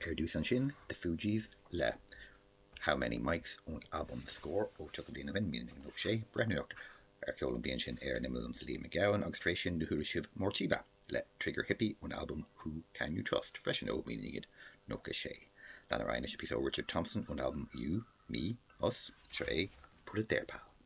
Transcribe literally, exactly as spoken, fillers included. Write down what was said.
Ar dtús ansin, The Fugees le How Many Mics ón albam The Score ó tríocha bliain ó shin, míle naoi gcéad nócha sé, breathnóireacht ar cheol an bhliain sin ar an imeall liomsa Liam Mac Gabhann agus tar éis sin do chuala sibh Morcheeba le Trigger Hippy ón albam Who Can You Trust freisin ó míle naoi gcéad nócha sé. Lean ar aghaidh anois píosa ó Richard Thompson ón albam You, Me, Us, seo é Put It There Pal.